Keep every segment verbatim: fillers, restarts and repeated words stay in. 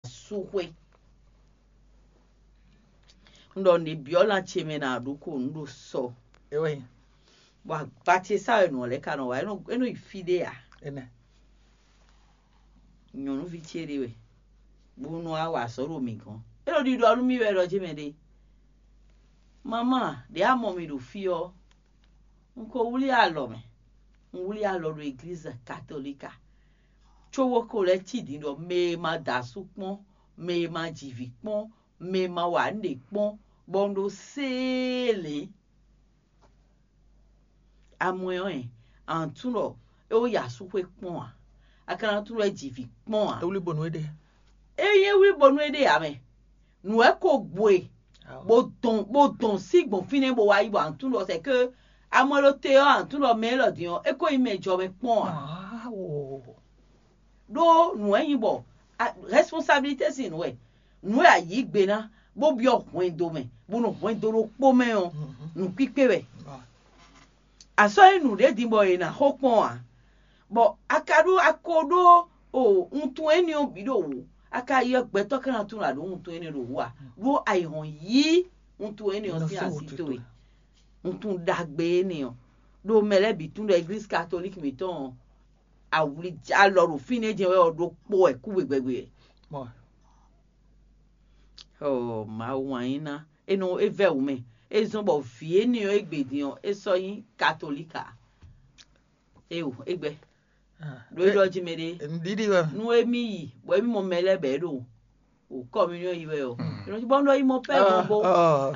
Yasúxwé. Un ɖɔ nǔ e byɔ́ lan ce mɛ ná ɖó ko nǔ ɖo sɔ. Bɔ agba ce sá wɛ nǔ ɔ́ lɛ́ɛ ka nɔ wá, é nɔ é nɔ yi fí ɖé ǎ. Nyɔ̌nuví ce ɖé wɛ, bó nɔ wá wa azɔ̌ ɖo mǐ gɔ́n. É nɔ ɖiɖɔ nú mì wɛ ɖɔ jɛ́n mɛ ɖé: "Mamá, ɖě a mɔ mì ɖo fí ɔ́, un ko wlí alɔ mɛ. Un wlí alɔ ɖo eglíza katolíka, cóbó ko lɛ́ cí din ɖɔ mɛ e ma da asú kpɔ́n, mɛ e ma ji vǐ kpɔ́n, mɛ e ma wa nǔɖé kpɔ́n, bɔ un ɖo séelě." Amwɛ ɔ́, ɛ, a nɔ tunwun ɖɔ é wó yi asúxwé kpɔ́n ǎ; a ka ná tunwun ɖɔ é ji vǐ kpɔ́n ǎ. É wlí bonu é ɖe. Ényí é wlí bonu é ɖe ǎ mɛ, nǔ wɛ ko gbo e, bó dɔn bó dɔn sí gbɔn fínɛ́ bó wá yi, bɔ a nɔ tunwun ɖɔ sɛ̌ ke amwɛ ɖo te ɔ́, a nɔ tunwun ɖɔ mɛ élɔ́ din ɔ́, é ko nyí mɛ jɔ mɛ kpɔ́n ǎ. Ɖó nǔ wɛ nyí bɔ responsabilité sín nǔ wɛ, nǔ e a yǐ gbe ná, bó byɔ́ hwɛndo mɛ, bó nɔ hwɛndo ɖokpó mɛ ɔ́, nǔkpíkpé wɛ. A sɔ́ nyí nǔɖé din bɔ è nǎ xo kpɔ́n ǎ, bɔ a ka ɖó a ko ɖó o wuntun énɛ́ ɔ́ bǐ ɖo wǔ, a ka ylɔ́ gbɛtɔ́ ká ná tunwun ɖo wuntun énɛ́ ɖo wǔ ǎ, ɖó a yi hɔn yí wuntun énɛ́ ɔ́ sín asi towe, wuntun ɖagbe énɛ́ ɔ́, ɖo mɛ lɛ́ɛ bǐ tunwun ɖɔ eglízi katolíki mǐtɔn ɔ́, awlija alɔ ɖo fínɛ́ jɛ́n wɛ ɔ́ ɖokpó wɛ kú gbegbegbe wɛ. Ɔ, Mawu wǎn yí ná, é nɔ é vɛ́ wǔ mɛ, é zɔ́n bɔ vǐ énɛ́ ɔ́ égbé din ɔ́, é sɔ́ nyí katolíka. Éwo, égbɛ́ ɖo é ɖɔ jí mɛ ɖé. Nǔɖiɖi wɛ. Nú émí yi bɔ émí mɔ mɛ lɛ́ɛ bɔ é ɖo o kɔminiɔn yi wɛ ɔ́, é nɔ jí bɔ un ɖɔ yi mɔ pɛ́ gɔn bó.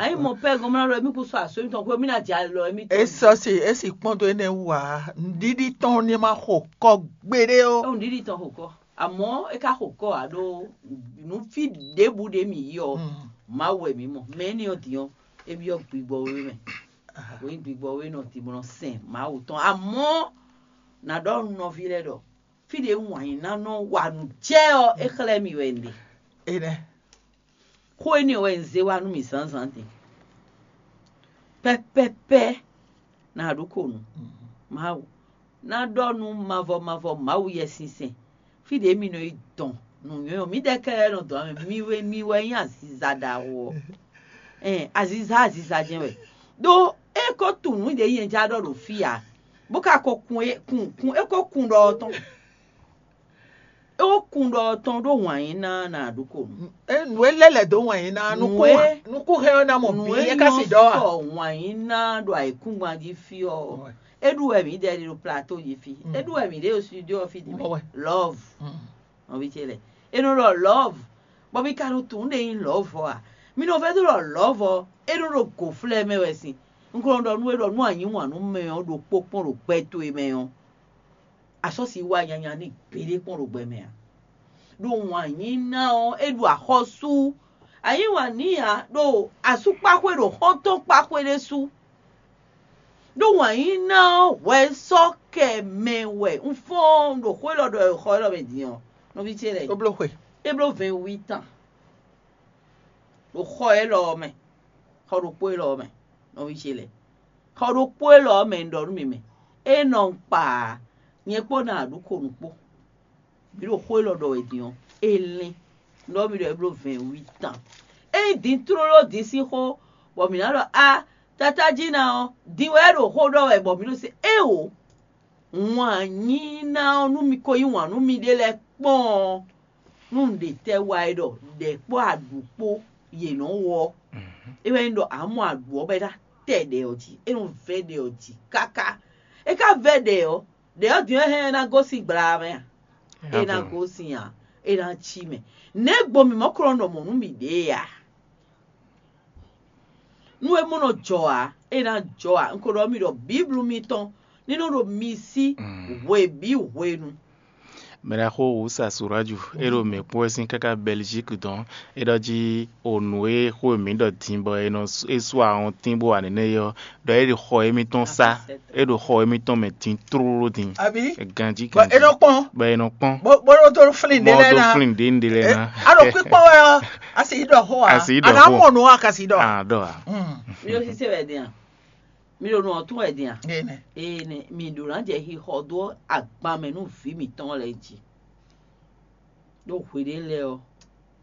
Anyi mɔ pɛ́ gɔn mlá ɖɔ émí kún sɔ asó émítɔn xwé émí ná jɛ alɔ émítɔn. É sɔ́ si é si kpɔ́n dó énɛ́ wú ǎ. Nǔɖiɖi tɔn ní ma xo kɔ gbeɖé ó. Nǔɖiɖi tɔn xo kɔ. Àmọ́ é ká xo kɔ ǎ ɖó nǔ fí ɖěbǔ ɖě mǐ yi ɔ́, Mawu wɛ mǐ mɔ. Mɛ énɛ́ ɔ́ din ɔ́, é byɔ́ gbigbɔ wé mɛ. Wǒ nyí gbigbɔ wé nɔ din bó nɔ sɛn Mawu tɔn. Àmọ́ nǎ ɖɔ nú nɔví lɛ́ɛ ɖɔ fí ɖě wǎn yí ná nɔ wa nǔ jɛ ɔ́, é xlɛ́ mì wɛ un ɖe. Énɛ́. Xó énɛ́ wɛ un zé wá nú mì zǎnzǎn din. Pɛ́pɛ́pɛ́ ná ɖó ko nǔ. Mawu ná ɖɔ nú mavɔ mavɔ Mawu Yɛsinsɛn, fí ɖě mi nɔ yi dɔn nǔnywɛ́ ɔ́, mǐdɛɛ kɛ́ɖɛ́ nɔ dɔn ǎ mɛ, mi wɛ mi wɛ nyí aziza ɖaxó ɔ́. Ɛn, aziza aziza jɛ́n wɛ. Ɖó é ko tunwun nǔ ɖě nyɛ já ɖɔ ɖo fí ǎ, bó ka ko kun é kun kun é ko kun ɖɔ ɔ́ tɔn. É ko kun ɖɔ ɔ́ tɔn ɖó wǎn yí ná ná ɖokó nu. Nǔ e lɛ́ lɛ̌ dó wǎn yí ná nukún hɛn ɔ́ ná mɔ bǐ é ká si ɖɔ a? Sɔ wǎn yí ná ɖo ayǐkúngban jí fí ɔ́, é ɖu wɛ mǐ ɖɛ ɖi ɖo plateau jí fí, é ɖu wɛ mǐ ɖe ɖo studio ɔ́ fí ɖi mɛ. Love. Nɔví ce lɛ, é nɔ ɖɔ love, bɔ mi ka nɔ tunwun ɖe nyí love ɔ́ a? Mi nɔ vɛ́ dó ɖɔ love ɔ́, é nɔ ɖo gǒflɛ́ mɛ wɛ sin. Un ko nɔ ɖɔ nú we ɖɔ nú a yí wǎn nú mɛ ɔ́ ɖokpó kpɔ́n ɖo gbɛ towe mɛ ɔ́, a sɔ́ si wá nyanya n'i gbeɖé kpɔ́n ɖo gbɛ mɛ a? Ɖo wǎn yí ná ɔ́, é ɖu axɔ́sú. A yí wǎn n'i ǎ, ɖo asúkpaxwé ɖo xɔ́ntɔ́nkpaxwé ɖésú. Ɖó wǎn yí ná ɔ́, hwɛ sɔ́ kɛ mɛ wɛ un fɔ́n ɖo xó élɔ́ ɖɔ xɔ élɔ́ mɛ din ɔ́, nɔví ce lɛ́ɛ. É bló xwe. É bló vɛ̌ɛn wí tán ɖo xɔ élɔ́ ɔ́ mɛ, xɔ ɖokpó élɔ́ ɔ́ mɛ, nɔví ce lɛ́ɛ. Xɔ ɖokpó élɔ́ ɔ́ mɛ un ɖɔ nú mi mɛ, é nɔ un kpa ǎ, nyɛ kpó ná ɖu ko nǔ kpó. Mǐ ɖo xó élɔ́ ɖɔ wɛ din ɔ́, é lɛ́n. Un ɖɔ mi ɖɔ é bló vɛ̌ɛn wí tán. Ényí din tlóló din sín xó, bɔ mǐ ná ɖɔ a, tatá jí ná ɔ́, din wɛ é ɖo xó ɖɔ wɛ bɔ mǐ ɖo se éeǒ. Wǎn yí ná ɔ́, nú mi ko yí wǎn nú miɖée lɛ́ɛ kpɔ́n ɔ́, nú nǔɖé tɛ́ wa é ɖɔ ɖɛ̌ kpó aɖǔ kpó yě nɔ́ wɔ ɔ́, é wɛ nyí ɖɔ a mɔ aɖǔ ɔ́ bɔ é ná tɛ ɖɛ ɔ́ jí, é nɔ vɛ́ ɖɛ ɔ́ jí káká. É ka vɛ́ ɖɛ ɔ́, ɖɛ̌ ɔ́ din ɔ́ hɛn é ná gosín gbla mɛ a? É ná gosín ǎ, é ná cí mɛ. Nɛ̌ gbɔn mǐ mɔ klɔ́n ɖɔ mɔ̌ nú mǐɖée a? Nú é mɔ nɔ jɔ ǎ, é ná jɔ ǎ. Un ko ɖɔ mi ɖɔ Bíblu mitɔn ní nɔ ɖo mi sí hwe bǐ hwenu. Mɛɖaxó Wusa Suraju, é ɖo mɛ kpɔ́ wɛ sín káká Bɛlizíki dɔn, é ɖɔ jí o nǔ e xó e mǐ ɖɔ din bɔ é nɔ é sú ahɔntín bó wa nɛnɛ é ɔ́, ɖɔ é ɖo xɔ émítɔn sá, é ɖo xɔ émítɔn mɛ din tlóló din. Abi? Ganjí bɔ ganjí. É nɔ kpɔn. Bɔ é nɔ kpɔn. Bó bó ɖó dó flin ɖé lɛ na. Bó dó flin ɖé ɖé lɛ na. A ɖo kpíkpɔn wɛ ɔ́, a sì ɖɔ xó a. A sì ɖɔ xó. A ná mɔ nǔ a ka sì ɖɔ. A ɖɔ a. Mi ɖo sise wɛ din a? Mi ɖo nɔ tún wɛ din a? Ee nɛ. Ee nɛ, mi ɖo ná jɛ xixɔ dó agban mɛ nú vǐ mǐtɔn lɛ́ɛ jí. Ɖó hweɖé lɛ́ɛ ɔ́,